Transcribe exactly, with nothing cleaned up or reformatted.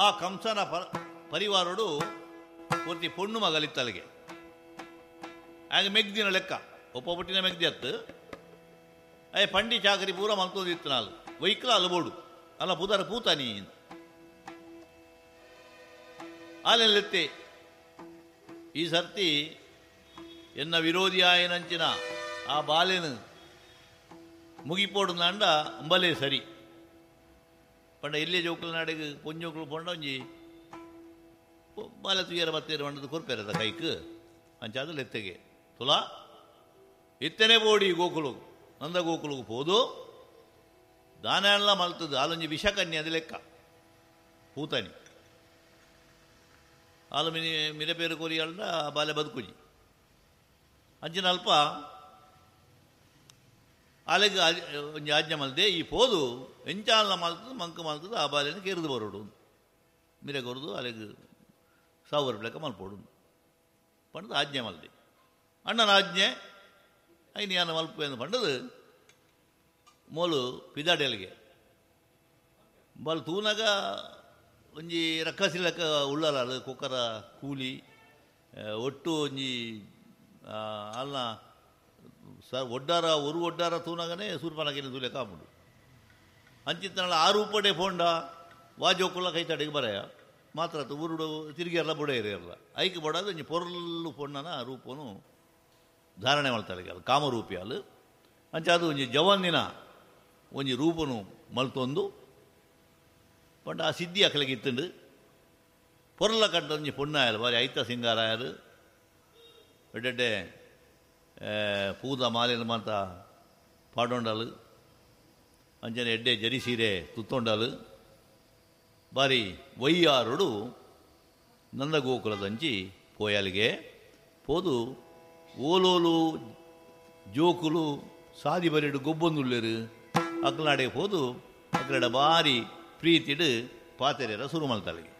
ಆ ಕಂಸನ ಪರ ಪರಿವಾರೋಡು ಪೂರ್ತಿ ಪೊಣ್ಣು ಮಗಲಿತ್ತಲಿಗೆ. ಆಗ ಮೆಗ್ದಿನ ಲೆಕ್ಕ ಒಪ್ಪ ಪುಟ್ಟಿನ ಮೆಗ್ದಿ ಅತ್ತು. ಅಯ್ಯ ಪಂಡಿ ಚಾಕರಿ ಪೂರ ಮಲ್ತೋದಿತ್ತು ನಾಲ್ ವೈಕ್ಲ ಅಲಬೋಡು ಅಲ್ಲ ಪುದರ ಪೂತಾನಿ ಆಲೆಲ್ಲೆತ್ತೆ. ಈ ಸರ್ತಿ ಎನ್ನ ವಿರೋಧಿ ಆಯನಂಚಿನ ಆ ಬಾಲೆನು ಮುಗಿಪೋಡು ನಾಂಡ ಅಂಬಲೇ ಸರಿ ಪಂಡ ಇಲ್ಲೇ ಜೋಕುಲ ನಾಡಿಗೆ ಪೊಂಜೋಕುಲು ಪೊಂಡ ಒಂಜಿ ಬಾಲೆ ತುಯ್ಯರ ಬತ್ತೇರು ಮಂಡದ ಕೊರ್ಪೇರದ ಕೈಕ್ ಅಂಚಾದ ಲೆತ್ತೆಗೆ ತುಲಾ ಇತ್ತನೆ ಬೋಡಿ ಗೋಕುಲು ನಂದ ಗೋಕುಲುಗು ಪೋದು ದಾನ ಎಲ್ಲ ಮಲ್ತದ್ದು ಆಲೊಂಜಿ ವಿಷಕನ್ಯೆ ಅದು ಲೆಕ್ಕ ಪೂತನಿ ಆಲು ಮಿನಿ ಮಿರಪೇರು ಕೊರಿಯಲ್ದ ಬಾಲೆ ಬದುಕುಜಿ ಅಂಚಿನ ಅಲ್ಪ ಆಲೆಗ್ ಒಂಜಿ ಆಜ್ಞೆ ಮಲ್ದೆ ಈ ಪೋದು ಎಂಚಾಲ ಮಲ್ತದ್ದು ಮಂಕು ಮಲ್ತದ್ದು ಆ ಬಾಲೆನ ಕೆರೆದು ಬರೋಡು ಮಿರೆ ಕೊರದು ಅಲೆಗ್ ಸಾವಿರ ಲೆಕ್ಕ ಮಲ್ಪೋಡು ಪಂಡದು ಆಜ್ಞೆ ಮಲ್ದೆ. ಅಣ್ಣನ ಆಜ್ಞೆ ಐನು ಯಾನ ಮಲ್ಪು ಎಂದು ಪಂಡದು ಮೋಲು ಪಿದಾಡೆಲ್ಗೆ ಬಲ್ ತೂನಾಗ ಒಂಜಿ ರಕ್ಕಸಿ ಲೆಕ್ಕ ಉಳ್ಳಾಲ ಕೊಕ್ಕರ ಕೂಲಿ ಒಟ್ಟು ಒಂಜಿ ಅಲ್ಲ ಸರ್ ಒಡ್ಡಾರ ಒರು ಒಡ್ಡಾರ ತೂನಾಗನೇ ಸೂರ್ಪನಗಿನ ತೂಲೆ ಕಾಪುಂಡು ಅಂಚಿತ್ತನಲ್ಲ ಆ ರೂಪಡೆ ಪೋಂಡ ವಾಜೋಕುಲ್ಲ ಕೈ ತಡೆಗೆ ಬರೆಯ ಮಾತ್ರ ಊರುಡು ತಿರುಗಿಯಲ್ಲ ಬುಡ ಇರಲ್ಲ ಐಕೆ ಬಡದು ಒಂಜಿ ಪೊರ್ಲು ಪೊಣ್ಣನ ರೂಪನು ಧಾರಣೆ ಮಾಡ್ತಾರೆ ಅಲ್ಲ ಕಾಮರೂಪಿ ಅಲ್ಲ ಅಂಚ ಅದು ಒಂಜಿ ಜವಾನಿನ ಒಂಜಿ ರೂಪನು ಮಲ್ತೊಂದು ಪಂಡ ಆ ಸಿದ್ಧಿ ಅಕಲಿಗೆ ಇತ್ತುಂಡು ಪೊರ್ಲ ಕಂಡ ಒಂಜಿ ಪೊಣ್ಣಾಯಲು ಬಾರಿ ಐತ ಸಿಂಗಾರಾಯರು ಎಡ್ಡೆಡ್ಡೆ ಪೂದ ಮಾಲಿನ ಮಾತ ಪಾಡೊಂಡಲು ಅಂಚನೆ ಎಡ್ಡೆ ಜರಿ ಸೀರೆ ತುತ್ತೊಂಡಲು ಬಾರಿ ವೈಯಾರುಡು ನಂದಗೋಕುಲದಂಚಿ ಪೋಯಲಿಗೆ ಪೋದು ಓಲೋಲು ಜೋಕುಲು ಸಾದಿ ಬರಿಡು ಗೊಬ್ಬೊಂದುಲ್ಲೇರು ಅಕ್ಲಾಡೆ ಪೋದು ಅಕ್ಲಡ ಬಾರಿ ಪ್ರೀತಿಡು ಪಾತೆರೆರ ಸುರು ಮಲ್ತಲಿಗೆ.